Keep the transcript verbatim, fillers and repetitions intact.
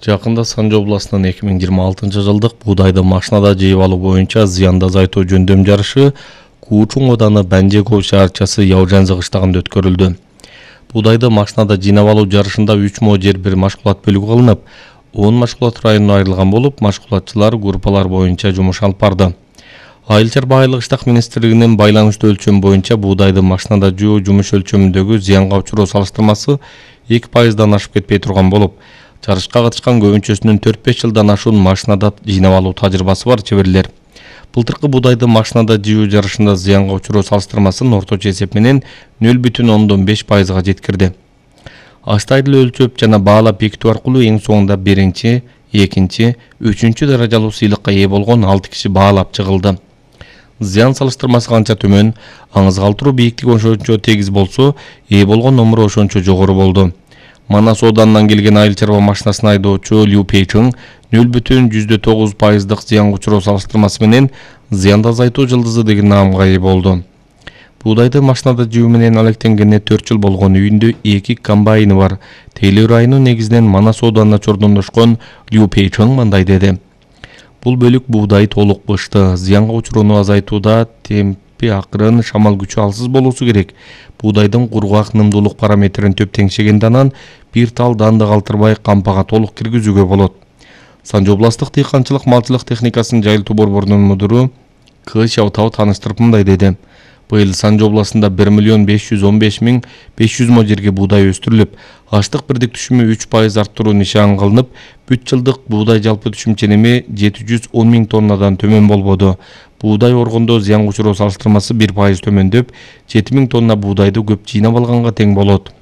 Жакында Санжы областынын эки миң жыйырма алтынчы жылдык буудайды машинада жыйып алуу боюнча зыянды азайтуу жөндөм жарышы Куучун ооданы Банжеков шаарчасы Яужанзы кыштагында өткөрүлдү. Буудайды машинада жыйнап алуу жарышында үч мо жер бир машгулат бөлүгү кылынып, он машгулат районуна айрылган болуп, машгулатчылар группалар боюнча жумуш алып барды. Айыл чарба айылдык иштак министрлигинин байланыштуу өлчөм боюнча буудайды машинада жөө жумуш өлчөмүндөгү зыянга учуруу салыштырмасы эки пайыздан ашып кетпей турган болуп, жарышка катышкан көбүнчөсүнүн төрт беш жылдан ашуун машинада жыйнап алуу тажрыйбасы бар чеберлер. Былтыркы буудайды машинада жыйуу жарышында зыянга учуруу салыштырмасын орточо эсеп менен нөл бүтүн ондон беш пайызга жеткирди. Аштайлы өлчөп жана баалап бекитүү аркылуу эң соңунда биринчи, экинчи, үчүнчү даражалуу сыйлыкка ээ болгон алты киши баалап чыгылды. Зыян салыштырмасы канча төмөн, аңыз калтыруу бийликтиги ошончо тегиз болсо, ээ болгон номуру ошончо жогору болду. Манас ооданынан келген айыл чарба машинасын айдоочу Лю Пейчиң нөл бүтүн жүздө тогуз пайыздык зыянга учуруу салыштырмасы менен зыянды азайтуу жылдызы деген наамга ээ болду. Буудайды машинада жыйуу менен алектенгенине төрт жыл болгон, үйүндө эки комбайны бар. Тейлөө району негизинен Манас ооданына чордондошкон Лю Пейчиң мындай деди. Бул бөлүк буудай толук бышты. Зыянга учурууну азайтууда темпи акырын, шамал күчү алсыз болуусу керек. Буудайдын кургак нымдуулук параметрин төп теңшегенде анан бир тал данды калтырбай кампага толук киргизүүгө болот. Санжы областтык дыйканчылык малчылык техникасынын жайылтуу борборунун мудуру К Шаутау тааныштырып мындай деди. Быйыл Санжы областында бир миллион беш жүз он беш миң беш жүз мо жерге буудай өстүрүлүп, аштык бирдик түшүмү үч пайыз арттыруу нишан кылынып, бүт жылдык буудай жалпы түшүм ченеми жети жүз он миң тоннадан төмөн болбоду. Буудай оргондо зыянга учуруу салыштырмасы бир пайыз төмөндөп, жети миң тонна буудайды көп жыйнап алганга тең болот.